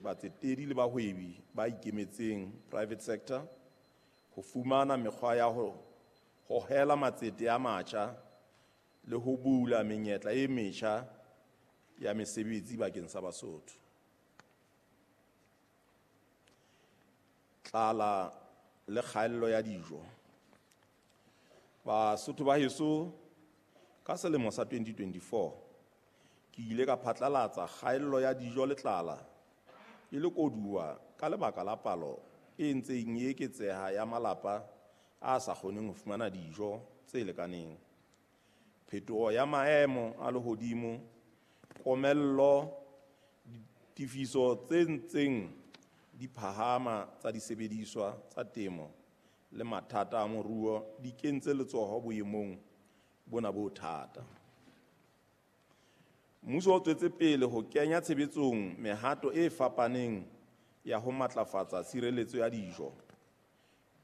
batsetedi le bahwebi ba ikemetseng, private sector, ho fumana mekgwa ya ho hohela matsete a matjha le ho bula menyetla e metjha ya mesebetsi bakeng sa Basotho. Tlala le kgaello ya dijo. Basotho ba heso, ka selemo sa 2024 ke ile ka phatlalatsa kgaello ya dijo le tlala e le koduwa ka lebaka la palo e ntseng e eketseha ya malapa a sa kgoneng ho fumana dijo tse lekaneng. Phetoho ya maemo a lehodimo, komello, ditefiso tse ntseng di phahama tsa disebediswa tsa temo le mathata a moruo di kentse letsoho boemong bona bo thata. Mmuso o tswetse pele ho kenya tshebetsong mehato e fapaneng ya ho matlafatsa tshireletso ya dijo,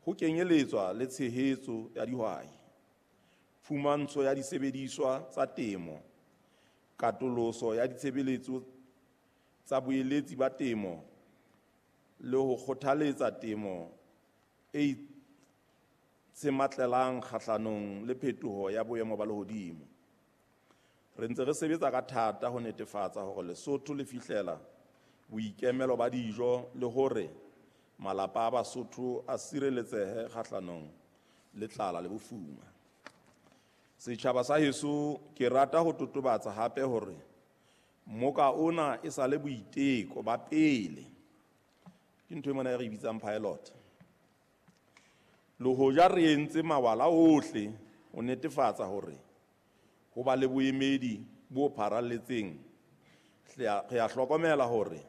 ho kenyeletswa le tshehetso ya dihwai, phumantsho ya disebediswa tsa temo, katoloso ya ditshebeletso tsa boeletsi ba temo le ho kgothaletsa temo e itshematlelang kgahlanong le phetoho ya boemo ba lehodimo. Re ntse re sebetsa ka thata ho netefatsa hore Lesotho le fihlela boikemelo ba dijo le hore malapa a Basotho a sireletsehe kgahlanong le tlala le bofuma. Setjhaba sa heso, ke rata ho totobatsa hape hore mmoka ona e sa le boiteko ba pele. Ke ntho e mona e re bitsang pilot. Le hoja re entse mawala ohle ho netefatsa hore ho ba le boemedi bo pharalletseng, re a hlokomela hore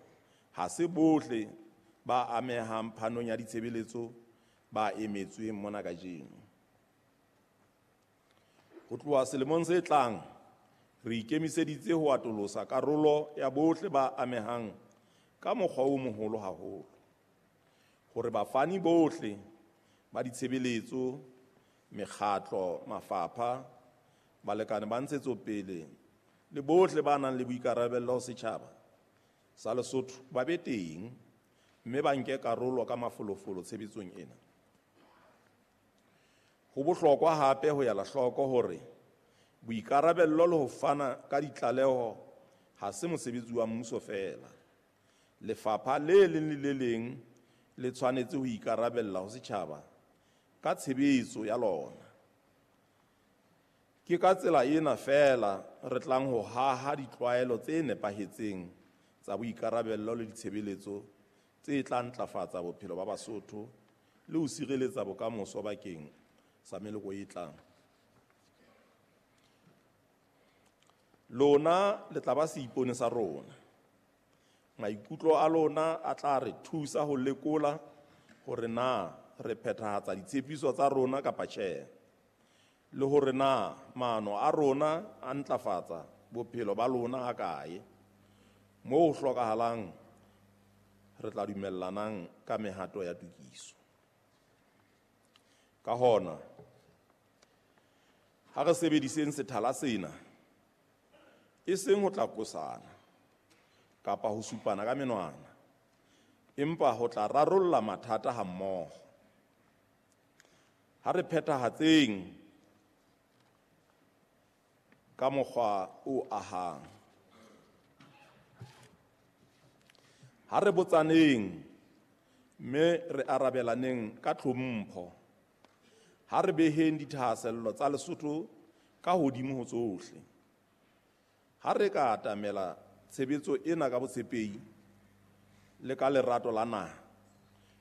ha se bohle ba amehang phanong ya ditshebeletso ba emetsweng mona kajeno. Ho tloha selemong se tlang, re ikemiseditse ho atolosa karolo ya bohle ba amehang ka mokgwa o moholo haholo, hore bafani bohle ba ditshebeletso, mekgatlo, mafapha, balekane ba ntshetsopele le bohle ba nang le boikarabello ho setjhaba sa Lesotho ba be teng mme ba nke karolo ka mafolofolo tshebetsong ena. Ho bohlokwa hape ho ela hloko hore boikarabello le ho fana ka ditlaleho ha se mosebetsi wa mmuso feela. Lefapha le leng le le leng le tshwanetse ho ikarabella ho setjhaba ka tshebetso ya lona. Ke ka tsela ena feela re tlang ho haha ditlwaelo tse nepahetseng tsa boikarabello le ditshebeletso tse tla ntlafatsa bophelo ba Basotho le ho sireletsa bokamoso bakeng sa meloko e tlang. Lona le tla ba seipone sa rona. Maikutlo a lona a tla re thusa ho lekola hore na re phethahatsa ditshepiso tsa rona kapa tjhe, le hore na maano a rona a ntlafatsa bophelo ba lona hakae. Moo ho hlokahalang re tla dumellanang ka mehato ya tokiso. Ka hona, ha re sebediseng sethala sena, e seng ho tla qosana kapa ho supana ka menwana, empa ho tla rarolla mathata hammoho. Ha re phethahatseng ka mokgwa o ahang. Ha re botsaneng mme re arabelaneng ka tlhompho. Ha re beheng dithahasello tsa Lesotho ka hodimo ho tsohle. Ha re ka atamela tshebetso ena ka botshepehi le ka lerato la naha,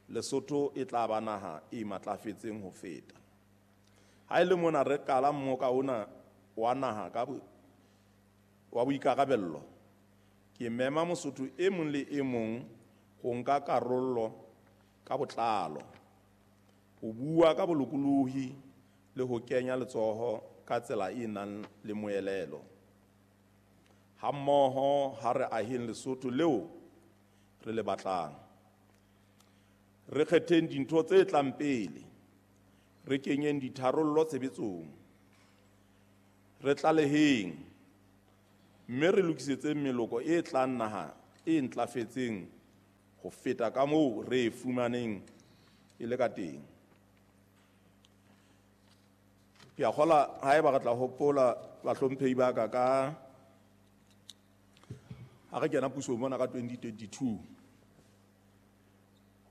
Lesotho e tla ba naha e matlafetseng ho feta. Ha e le mona re qala mmoka ona wa naha ka wa boikarabello, ke mema Mosotho e mong le e mong ho nka karolo ka botlalo, ho bua ka bolokolohi le ho kenya letsoho ka tsela e nang le moelelo. Hammoho ha re aheng Lesotho leo re le batlang. Re kgetheng dintho tse tlang pele, re kenyeng ditharollo tshebetsong, re tlaleheng mme re lokisetseng meloko e tlang naha e ntlafetseng ho feta ka moo re e fumaneng e le ka teng. Ke a kgola haeba re tla hopola bahlomphehi ba ka ka ha re kena pusong mona ka 2022,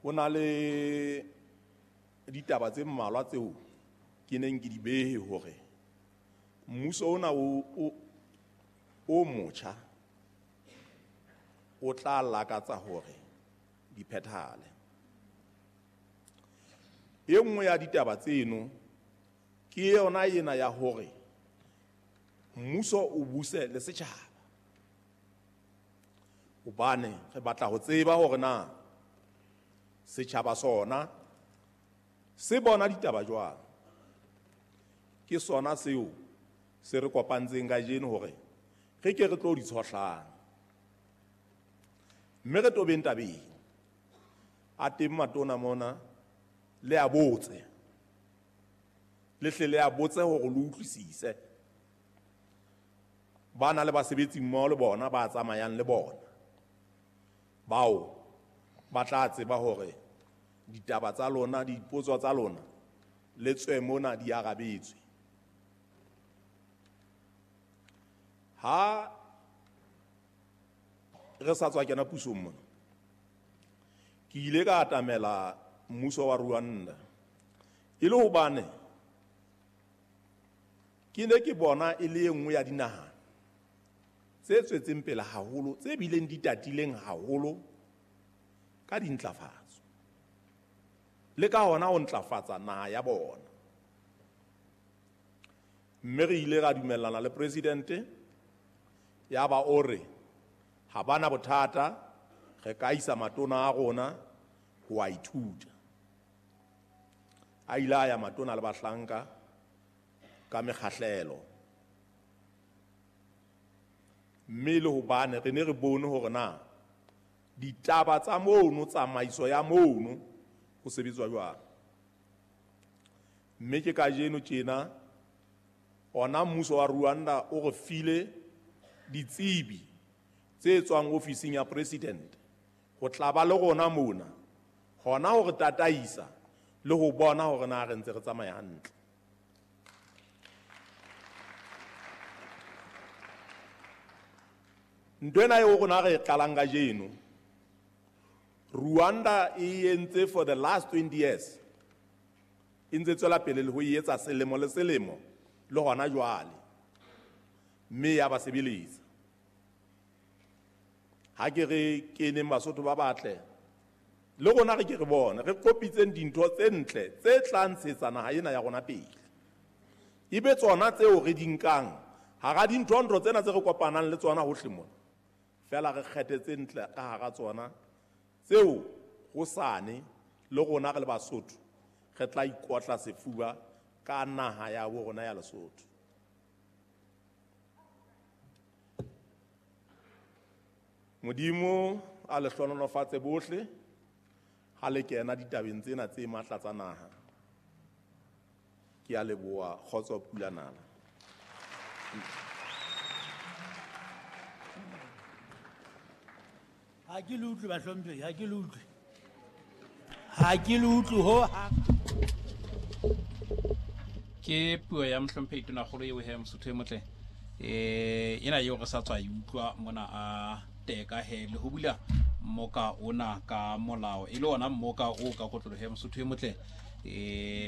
ho na le ditaba tse mmalwa tseo ke neng ke di behe hore mmuso ona o motjha o tla lakatsa hore di phethahale. E nngwe ya ditaba tseno ke yona ena ya hore mmuso o buse le setjhaba, hobane re batla ho tseba hore na setjhaba sona se bona ditaba jwang. Ke sona seo se re kopantseng kajeno hore re ke re tlo di tshohlang, mme re tobeng tabeng. A teng matona mona, le a botse, le hle le a botse hore le utlwisise. Ba na le basebetsi mmoho le bona ba tsamayang le bona, bao ba tla tseba hore ditaba tsa lona, dipotso tsa lona le tswe mona di arabetswe. Ha re sa tswa kena pusong mona, ke ile ka atamela mmuso wa Rwanda e le hobane ke ne ke bona e le e nngwe ya dinaha tse tswetseng pele haholo, tse bileng di tatileng haholo ka dintlafatso le ka hona ho ntlafatsa naha ya bona. Mme re ile ra dumellana le presidente, ya ba o re ha bana bothata, re ka isa matona a rona ho a ithuta. A ile a ya matona le bahlanka ka mekgahlelo, mme le hobane re ne re bone hore na ditaba tsa mono, tsamaiso ya mono ho sebetswa jwang. Mme ke kajeno tjena ona mmuso wa Rwanda o re file ditsebi tse tswang ofising ya president ho tla ba le rona mona, hona ho re tataisa le ho bona hore na re ntse re tsamaya hantle. Ntho ena eo rona re e qalang kajeno, Rwanda e entse for the last 20 years, e ntse tswela pele le ho e etsa selemo le selemo le hona jwale, mme ya ba sebeletsa. Ha ke re keneng Basotho ba batle, le rona re ke re bone re kopitseng dintho tse ntle tse tla ntshetsa naha ena ya rona pele, ebe tsona tseo re di nkang hara dintho-ntho tsena tse re kopanang le tsona hohle mona, fela re kgethe tse ntle ka hara tsona tseo hosane le rona re le Basotho re tla ikotla sefuba ka naha ya bo rona ya Lesotho. Modimo a le hlohonolofatse bohle ha le kena ditabeng tsena tse matla tsa naha. Ke a leboha. Kgotso pula nala. Ha ke le utlwe bahlomphehi, ha ke le utlwe. Ha ke le utlwe ho hang. Ke puo ya mohlomphehi Tonakgolo eo he Mosotho e motle. Ena eo re sa tswa e utlwa mona a teka he le ho bula mmoka ona ka molao, e le ona mmoka o ka kotloloho ya Mosotho e motle,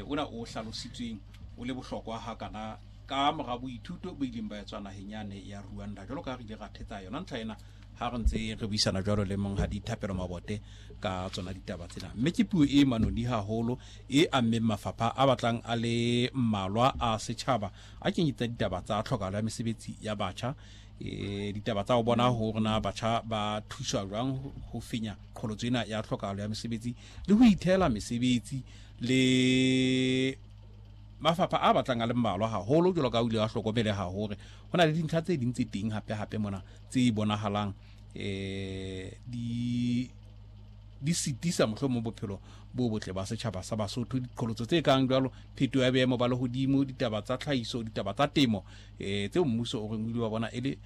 ona o hlalositsweng o le bohlokwa hakana ka mora boithuto bo ileng ba etswa naheng yane ya Rwanda. Jwalo ka ha re ile ra thetsa yona ntlha ena ha re ntse re buisana jwalo le monghadi Thapelo Mabote ka tsona ditaba tsena, mme ke puo e manoni haholo e ammeng mafapha a batlang a le mmalwa a setjhaba a kenyetsa ditaba tsa tlhokahalo ya mesebetsi ya batjha, ditaba tsa ho bona hore na batjha ba thuswa jwang ho fenya qholotso ena ya tlhokahalo ya mesebetsi le ho ithela mesebetsi, le mafapha a batlang a le mmalwa haholo jwalo ka o ile wa hlokomeleha hore ho na le dintlha tse ding tse teng hape hape mona tse bonahalang di sitisa mohlomong bophelo bo botle ba setjhaba sa Basotho. Diqholotso tse kang jwalo phetoho ya boemo ba lehodimo, ditaba tsa tlhahiso, ditaba tsa temo, tseo mmuso o reng o ile wa bona e le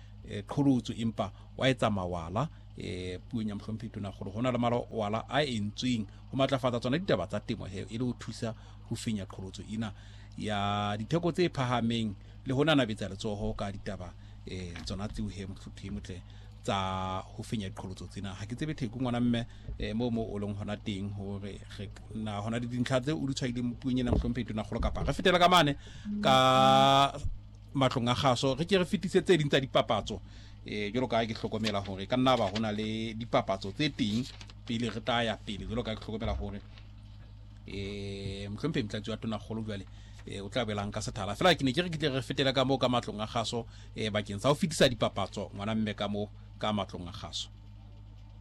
qholotso empa wa etsa mawala. um puong ya mohlomphehi tonakgolo go na le malwala a entsweng go matlafatsa tsona ditaba tsa temo he e le go thusa go fenya qholotso ena ya ditheko tse phahameng le go nanabetsa letsogo ka ditaba um tsona tseo he mohlophi motle tsa go fenya diqholotso tsena. Ga ke tsebe theko ngwana mme um mo mo o leng gona teng gore na gona le dintlha tse o di tshwaileng puong ena mohlomphehi tonakgolo, kapa re fetela ka mane ka matlong a gaso re ke re fetise tse ding tsa dipapatso um jalo ka ke hlokomela gore ka nna ba go na le dipapatso tse teng pele re tla ya pele, jalo ka ke hlokomela gore um mohlompheng motlatsi wa tonakgolo jale o tla belang ka sethala fela. Ke ne ke re ke tle re fetele ka moo ka matlong a gaso um bakeng sa go fetisa dipapatso ngwana mme ka moo ka matlong a gaso.